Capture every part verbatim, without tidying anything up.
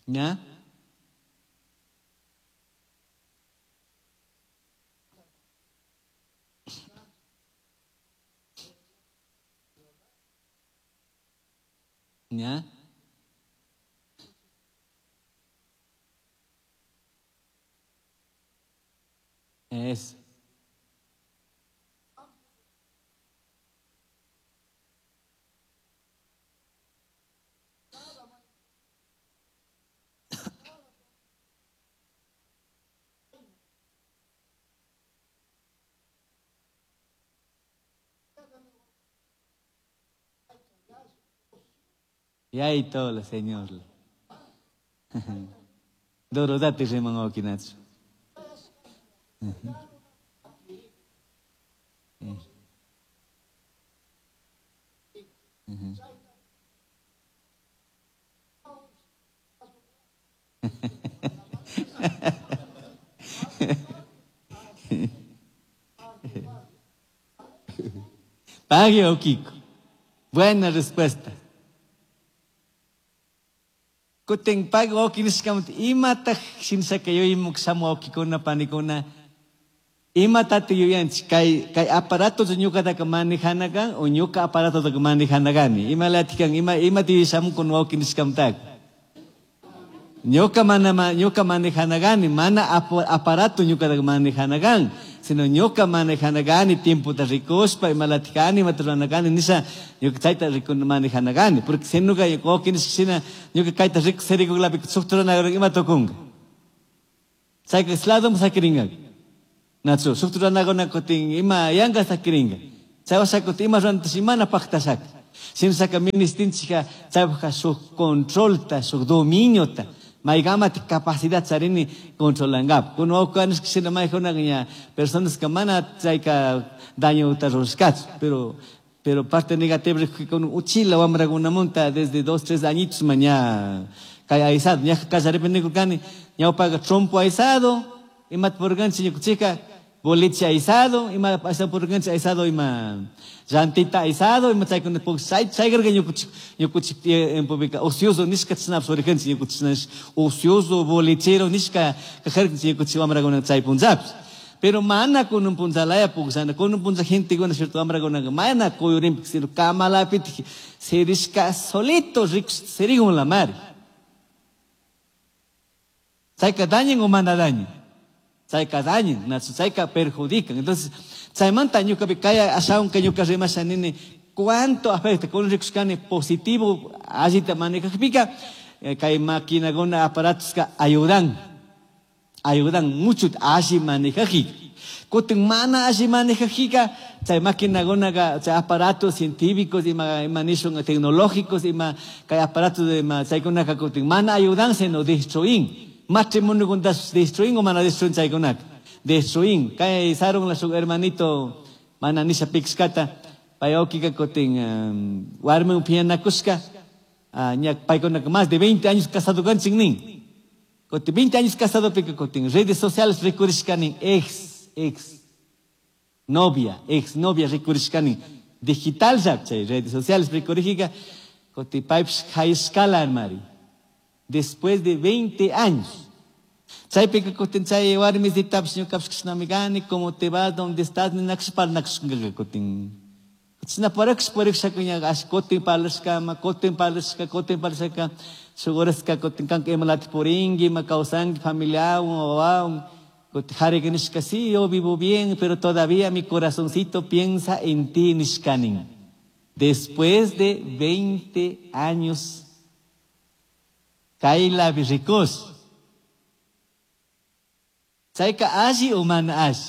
¿Ya? ¿Ya? Es. Y ahí todo, Señor. Doro date riman okinachu. Pague o Kiko. Buena respuesta. Kutin pago okinishkamut imataq shinsaka yuyimuk shamu okikuna panikuna imatati yuyanchik kay kay aparato ñuqataka manejana kan o ñuqa aparatotaka manejana kani imalatikan ima imati shamukun okinishkamutaka ñuqa mana ñuqa manejana kani mana aparato ñuqataka manejana kan sino ñuqa manejana kani tiempota rikuspa imalatikani imata rurana kani nisha ñuqa chayta rikuna manejana kani porque si ñuqa okinishkashina ñuqa kayta rikusirikuklapi suk rurana ima tukunka chayka ladoma sakirinka nachu suk ruranakuna kutin ima yanka sakirinka chay washa kutin ima ruranatash imana paktashaka shinashaka ministinchika chaypajka suk controlta suk dominiota maykamati capacidad charini controlankapaq kuna wawqi shina maykunaqa ña personas que mana chayka dañota rurashkachu pero pero parte negativa rikukuna uchila wamrakunamunta desde dos tres añitos ma ña kay aysado ñaqa kallaripi nikurkani ñawpaqa trompo aysado imata purkanchik ñukanchikka boliche aysado ima ashtawan purkanchik aysado ima llantita aysado ima chaykuna chay chaykarka ñukanchik ñukanchik tiempopika ocioso nishka chashnapish purijanchik ñukanchik ocioso bolichero nishka kajarkanchik ñukanchik wamrakuna chay punllapish pero mana kunan punllalaya pukllana kunan punlla gentekuna cierto wamrakunaka mana kuyurinpik sino kamalapitik sirishka solito rikush sirikunlamari chayka dañan o mana dañan chayka dañan nachu chayka perjudican. Entonces chaymanta ñukapi kay ashawan kay ñuka rimasha nini cuánto afecta kunan rikushkani positivo allita manejajpika kay maquinakuna aparatoska ayudan ayudan mucho alli manejajika kutin mana alli manejajika chay maquinakunaka chay aparatos científicos ima ima nishun tecnológicos ima kay aparatos ima chaykunaka kutin mana ayudan sino destruin matrimoniokunatash destruin o mana destruin chaykunaka destruin kay sarun la suk hermanito mana nisha pikshkata pay awkika kutin um, warmiwan phiñanakushka uh, ña paykunaka más de veinte años casado kanchik nin kutin veinte años casado pika kutin redes sociales rikurishkani ex ex novia ex novia rikurishkani digital chay redes sociales rikurijika kutin paypish hayshkala armari después de veinte años. Chaypika kutin chay warmisitapish ñukapish kashnami kani como te vas donde estás ninakush parlanakushkanka kutin chashna parikush purikushaka ña ash kutin parlashkama kutin parlashka kutin parlashka shuk horaska kutin kanka imalatik purinki ima kawsanki familiawan wawawan kutin jarika nishka sí yo vivo bien pero todavía mi corazoncito piensa en ti nishkanin después de veinte años kaylapi rikush chayka alli o mana alli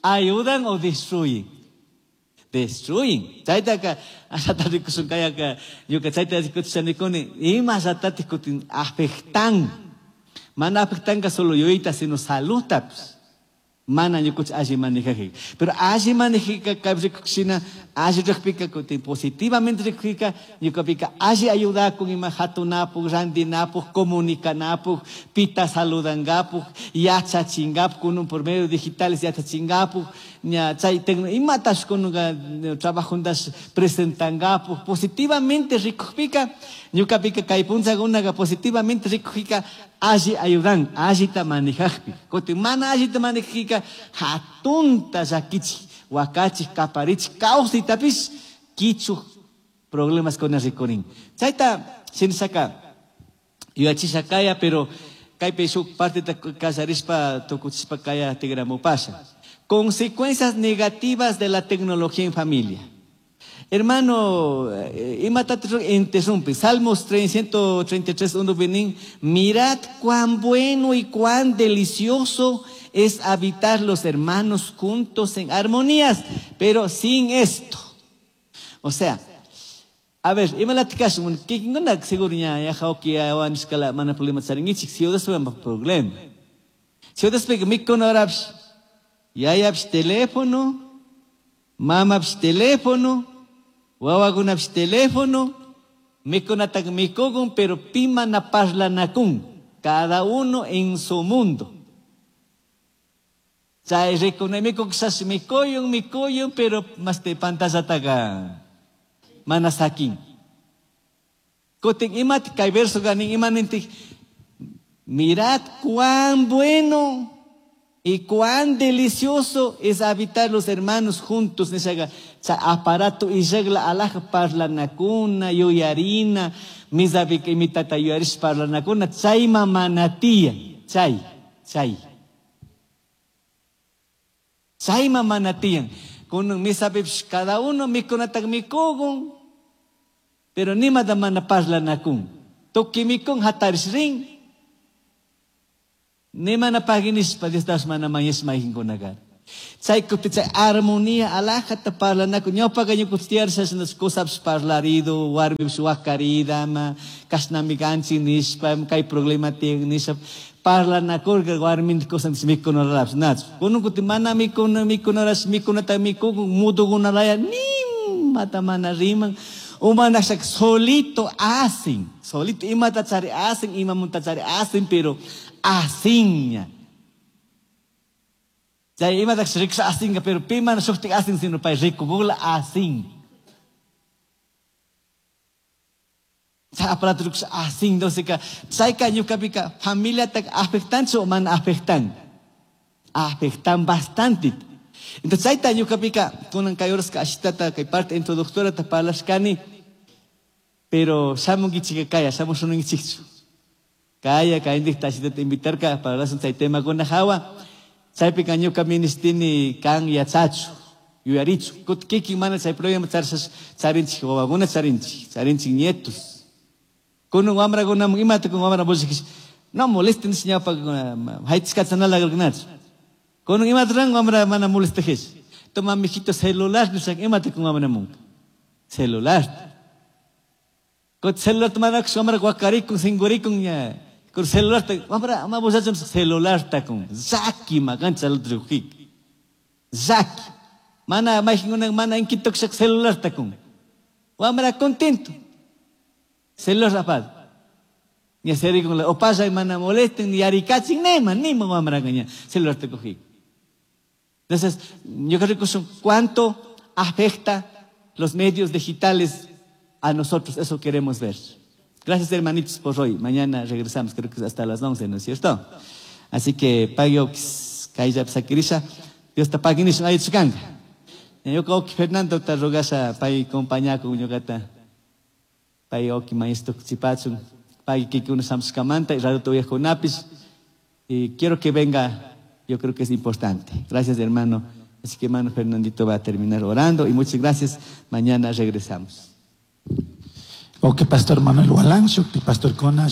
ayudan o destruyen destruyen chaytaka ashata rikushun kayaka ñuka chayta rikuchisha nikuni ima ashatatik kutin afectan mana afectanka solo yuyayta sino saludtapish mana ñukanchik alli manejajika pero alli manejika kaypi rikushina alli rikpika kutin positivamente rikpika ñukapika alli ayudakun ima hatunapuk rantinapuk comunicanapuk pita saludankapuk yachachinkapak kunun por medio digitales yachachinkapak ña chay imatash kunuka trabajundash presentangapu positivamente rikukpika ñukapika kay punchakunaka positivamente rikukpika alli ayudan allita manejakpi kutin mana allita manejajpika hatunta llakichik wakachik kaparichik kawsaytapish kichuk problemas kuna rikurin chayta shinashaka yuyachisha kaya pero kaypi shuk parteta kallarishpa tukuchishpa kaya tigramupasha. Consecuencias negativas de la tecnología en familia. Hermano, interrumpe. Salmos ciento treinta y tres, uno, benín. Mirad cuán bueno y cuán delicioso es habitar los hermanos juntos en armonías, pero sin esto. O sea, a ver, imalatikashun, kikinkuna seguro ña yajawki awanishkala mana problema charinkichik, si udaspa problema. Si udaspa mikunarapish, yayapish teléfono, mamapish teléfono, wawakunapish teléfono, mikunatak mikukun, pero pimana parlanakun, cada uno en su mundo. Chay rikuna mikukshash mikuyun, mikuyun, pero mas te pantallataka mana sakin. Kutin imat kay verso ganin imanintik, mirad cuán bueno y cuán delicioso es habitar los hermanos juntos. Nishaga, cha aparato y regla alaja parlanakuna, yuyarina, misabik imitata yuyarish parlanakuna, chay mamanatía, chay, chay. Chay mamanatiyan. Kunun misabipsh cada uno mikunatak mikugun, pero nimada mana parlanakun. Tuki mikun hatarish rin. Nimana paginishpa Dios das mana mañes mahinkunagar. Chay kuti chay armonía alajata parlanakun. Ñawpaqa ñuqutiyarsas nas cosas parlarido, warmips wakarida, ma kasnami ganchi nishpa, kay problema tien nishpa. Parlanakurqa warmin cosas mikunarabs nach. Kunun kuti mana mikuna mikunaras mikunata mikukun mudukunalaya nimata mana riman. Umanashak solito hacen, solito imata chari hacen, imamunta chari hacen, pero hacen. Chay imata riksha hacen, pero pimana shuktik hacen, sino pay rikukula hacen. Chay aparato riksha hacen, entonces ka chayka ñukapika familia tak afectan o mana afectan. Afectan bastante. Entonces chayta ñukapika kunan kay horas ka ashitata kay parte introductora ta parlashkani, pero shamunkichika kaya, shamushunkichikchu. Kaya kayindik tashitata invitarka para hablar chay tema kuna hawa. Chaypika ñuka ministini kan yachachu, yuyarichu. Kut kikin mana chay problema charsas charinchik wawakuna charinchik, charinchik nietos. Kunun wamrakunamun imata kun wamra bushikis, no molesten ñawpa haytiskachanalagarkunachu. Kunun imata ran wamra mana molestejes. Toma mijito celular nisak imata kun wamra munka. Celular. Kut celular tomanakus wamra wakarikun singurikun ña. Kun celular ta wamra ama bushachun celular ta kun. Zaki magancha altrujik. Zaki. Mana majingunan mana inkitukshak celular ta kun. Wamra contento. Celular apad. Ña serikun la opasa mana molesten ni yarikachin nema nima wamra ña celular ta kujik. Entonces, yo creo que son cuánto afecta los medios digitales a nosotros, eso queremos ver. Gracias, hermanitos, por hoy. Mañana regresamos, creo que hasta las once, ¿no es cierto? Así que, pagyo kayllap sakirisha, Dios ta paginishun ayuchukanga. Ñuka oki Fernando ta rogasha pay compañaku ñukata. Pay oki maestro chipachun, pay kikuna samskamanta y radio tuyajkunapis. Y quiero que venga, yo creo que es importante. Gracias, hermano. Así que hermano Fernandito va a terminar orando y muchas gracias. Mañana regresamos. Ok, Pastor Manuel Hualán, Pastor Kona,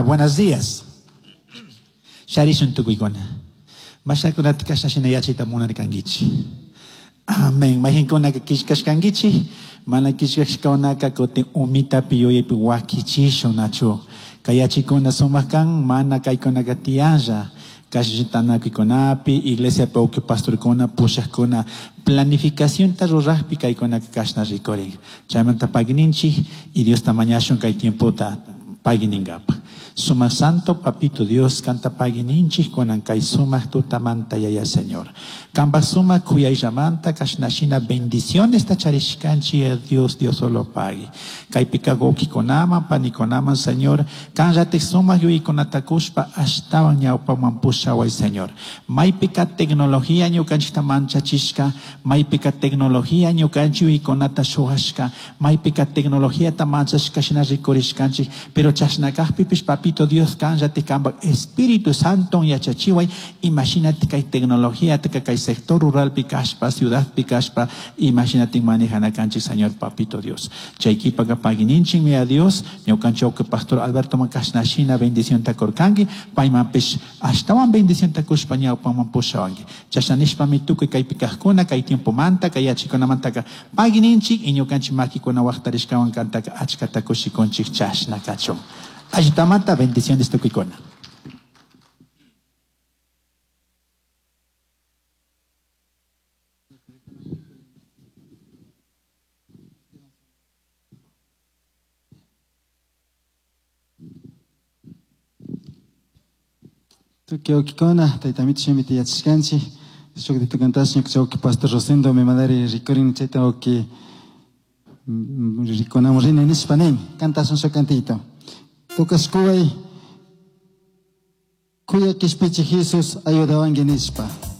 buenos días. Sharishun tukuykuna. Mashakunata kashna yachayta munarkankichik. Amén. Mayqinkunaka killkashkankichik, mana killkashkakunaka kutin umitapi yuyaypi wakichishun nachu. Kay yachikuna sumaq kan, mana kaykunaka tiyanlla. Kashitanakuykunapi, iglesia uki pastorkuna, pushaqkuna, planificacionta ruraqpi kaykunaka kashna rikurin. Chaymanta pagininchik y Diosta mañashun kay tiempota pagininkapaq. Suma Santo Papito Dios kanta pagui ninchik kunan kay sumak tutamanta yaya Señor. Kamba suma kuyayllamanta kashnashina bendiciones ta charishkanchi Dios Dios solo pagui. Kaypika wawkikunaman panikunaman Señor kanllatik sumak yuyaykunata kushpa ashtawan ñawpaman pushaway Señor. Maypika tecnología ñukanchikta manchachishka, maypika tecnología ñukanchik yuyaykunata shuwashka, maypika tecnologiata manchashka shina rikurishkanchik, pero chashna kajpipish Papito Dios kanllatik kamba Espíritu Santo yachachiway imashinatik kay tecnología kay sector ruralpi kashpa, ciudadpi kashpa, imashinatik manejana kanchik Señor Papito Dios. Chay kipaka pagui ninchikmi a Dios, ñukanchik pastor Alberto makashnashina bendición ta kurkanki, paymanpish ashtawan bendición ta kushpa ñawpaman pushawanki. Chashna nishpami tukuy kaypi kajkuna, kay tiempomanta, kay yachikunamantaka pagui ninchik y ñukanchik makikuna waqtarishkawan kantaka achkata kushikunchik chashna kachun. Allitamanta bendiciones tukuykuna. Tukuy wawkikuna, tayta shimita yachashkanchik, shuk tukantash ñuka wawki pastor Rosendo mi madre rikurin chayta wawki rikunamun rini nishpa nin, kantashun shuk kantito. Tukashkuway, kuya kishpichi Jesus ayudawanki nishpa.